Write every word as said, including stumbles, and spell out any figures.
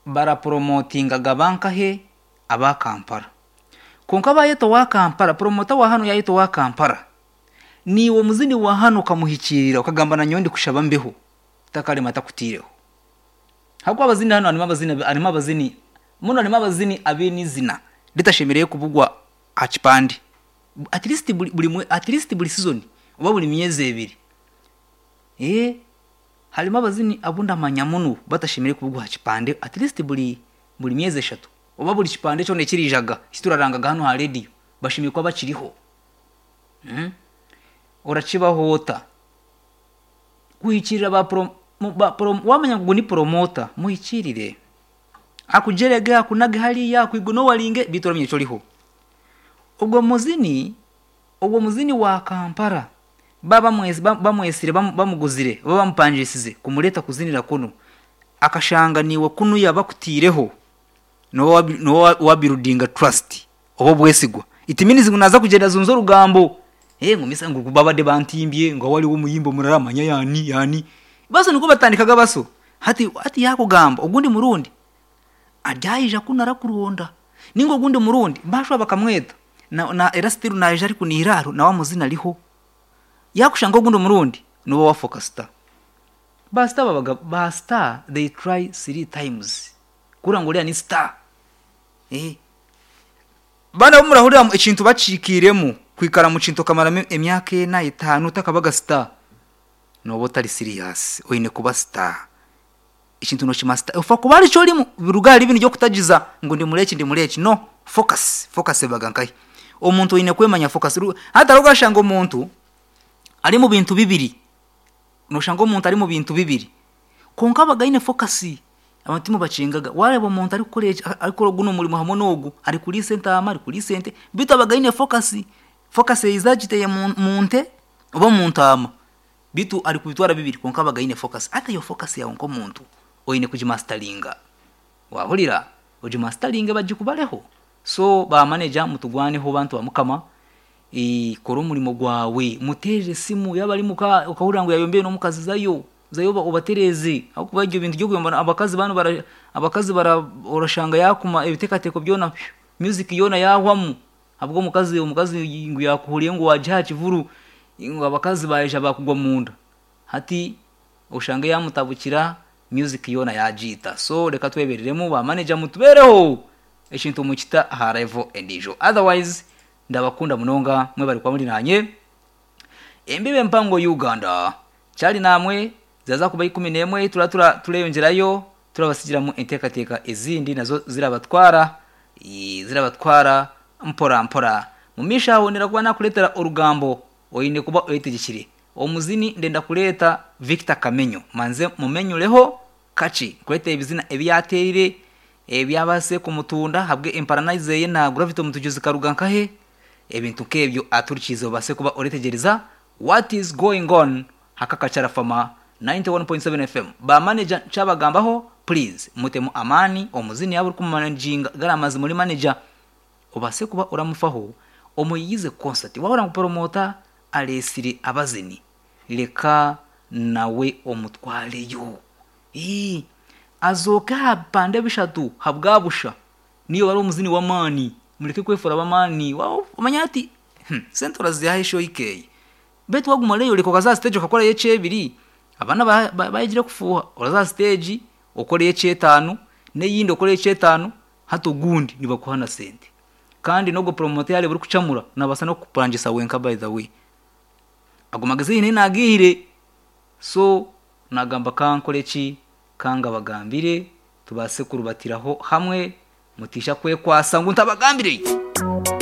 Baraporomotingaga bankahe? Aba Kampala. Kwonka bayeta owa Kampala, promota wa hanu yayeta owa Kampala, niiwe omuzini wa hanu okamuhikiirira okagamba, "Nanyowe ndikushaba mbeho," takarema takutiireho. Hakuba abazini hanu harimu abazini harimu abazini muno, harimu abazini abaine izina ritashemereire kubugwa aha kipande. At least buri buri mwe- at least buri season oba buri myezi ebiri. Eh, harimu abazini abu ndamanya muno batashemereire kubugwa aha kipande at least buri buri myezi eshatu oba buri kipande kyona ekirijaga kiturarangaga hanu aha rediyo, bashemereire kuba bakiriho. Mm? Orakibaho ota kuhikirira ba pro, mu- ba pro, wamanya ngu ni promoter, muhikirire, akujerege, akunage hariya, akwignoringe, bitu oramenya ekyo oriho. Ogwo muzini ogwo muzini wa Kampala baba bamwesi- ba- bamwesire, bamu- bamuguzire oba bamupangisize kumureta kuzinira kunu, akashanga niiwe kunu yabakutiireho, nowa wabuildinga trust oba obwesigwa. It means ngu naza kugyenda azunze orugambo, eh ngu misa ngu babadde bantimbye, ngu waliwo omuyimbi omurara, manya yani yani baso niko batandikaga baso. Hati hati yakugamba ogundi murundi aryayija kunu arakuronda, ninga ogundi murundi bashwa bakamweta na, na era still naija ari kunihira haro nawe amuzina ariho, yakushanga ogundi murundi niwe wafoka star. Ba star babaga ba star, they try three times kura ngo uriya ni star. eh bana bo murahurira ekintu bakiikiremu, kwikara mu kintu okamaramo emyaka ena, etaano, otakabaga star, noba otari serious. Oine kuba star, ekintu nokimaster, ofa kuba aricyo orimu biruga ahari binu byokutagiza ngu ndi mureki, ndi mureki. No focus, focus ebaga nkahi? Omuntu oine kwemanya focus. Ru- hatari ugashanga omuntu ari mu bintu bibiri, noshanga omuntu ari mu bintu bibiri konka abaga aine focus. Abantu timubakingaga. Wareba omuntu ari kukora eki- ari kukora guno omurimo hamwe n'ogu, ari kuriisa entaama, ari kuriisa ente, bitu abaga aine focus. Focus eiza agiteye mu mu nte oba mu ntaama, bitu ari kubitwara bibiri, konka abaga aine focus. Ata iyo focus yawe nk'omuntu oine kugimasteringa, wahurira? Ogimasteringe, bagikubareho. So ba manager, mutugwaneho, bantu ba Mukama. eh, kora omurimo gwawe, muteerere simu yaba ari muka, ukahurira ngu yayombeye n'omukazi, zayo zayo oba- obatereeze, ahakuba ibyo bintu by'okuyomba abakazi banu bara, abakazi bara, orashanga yakuma ebiteekateeko byona, music yona yahwamu habwo omukazi. Omukazi ngu yakuhuriye ngu wagiha aha kivuru, ngu abakazi baija bakugwa munda, hati oshange yamutabukira, music yona yagiita. So reka twebereremu, ba manager, mutubereho, ekintu mukita aha level endiijo. Otherwise ndabakunda munonga, mwe bari kuba muri nanye embibe empango Uganda kyali namwe. Zaza kuba ikumi n'emwe, tura tura tureyongyerayo, turabasigiramu enteekateeka ezindi nazo zirabatwara eh, zirabatwara mpora mpora mu maisho. Aho nira kuba nakureetera orugambo, oine kuba oyetegekire. Omuzini ndenda kureeta Victor Kamenyo, manze mumenyureho kaki, kureetera ebizina ebi yateerire, ebyabase kumutunda habwe emparana zeye na Gravity Omutujuzi karuga nkahe, ebintu nk'ebyo aturikize, obase kuba oretegereza what is going on hakakacara fama ninety-one point seven F M. Ba manager ncabagambaho, please mutemu amani. Omuzini yaba uri kumanaginga garamazi muri manager, obase kuba oramufaho, omuyize concert. Wahora ngu promoter aresire abazini, reka nawe omutwareyo. Ii, azooke aha bipande bishatu habwabusha, niyo bari omuzini w'amaani. Mureke kwefura ab'amaani. Wa- omanya ati hmm, sente orazihaho eshow ikeye, betu waguma oreyoreka, okaza stage okakorayo ekyebiri, abaana ba- ba- bayegire kufuuha. Oraza stage okoreyo ekyetaano, n'eyindi okoreyo ekyetaano, hati ogundi nibakuha na sente. Kandi n'ogwo promoter yareba orikucamura, nabaasa n'okukupangisa wenka. By the way, ago magezi nyine nagihire, so nagamba kankore ki, kangabagambire, tubaase kurubatiraho hamwe, mutisha kwekwasa ngu ntabagambire.